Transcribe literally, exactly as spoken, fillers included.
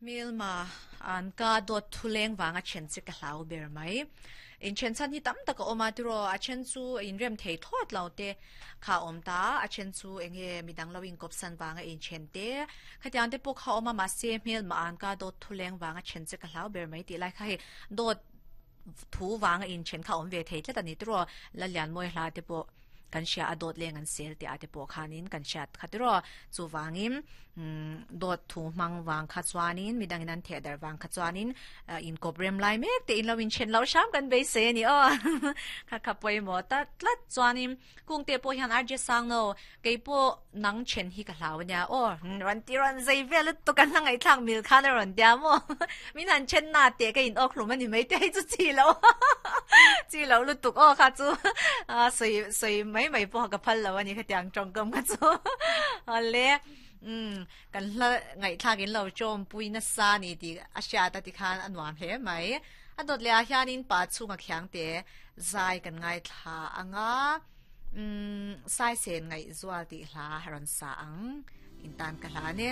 Hmelma an ka dawt thu leng vanga then che ka hlau ber mai. In then chan hi tam taka awma tiro a then chu in rem thei thawt lo te kha awm ta a then chu enge midang lo in kop san wanga in then te khatiang te pawh kha awma ma se hmelma an ka dawt thu leng vanga then che ka hlau ber mai ti lai kha hei dawt thu wanga in then kha awm ve thei tlat ani tiro la lian moi hla te pawh kan sia a dawt leng an sel te ate pawh khanin kan siat khatiro chu wangin dawt thu mang wang kha chuanin midang in an the dar wang kha chuanin in kop rem lai mek te in lo in chen lo sham kan be se ni o kha kha poi mo ta tlat chuanin kung te po hian arje sang no kei po nang chen hi ka hlaw nia o ran ti ran zai vel to kan langai thlang mil khan ron dia mo min han chen na te ka in ok hlum ani mai te chu chi lo chi lo lu tuk o kha chu a soi soi mai mai po ka phal lo ani kha tiang tong kam kha chu ale um kan hla ngai thlakin lo chom pui na sa ni ti a sha ta ti khan anuam hle mai a dot le a hianin pa chunga khiang te zai kan ngai thla anga um sai sen ngai zual ti hla haron sa ang in tan ka hla ne.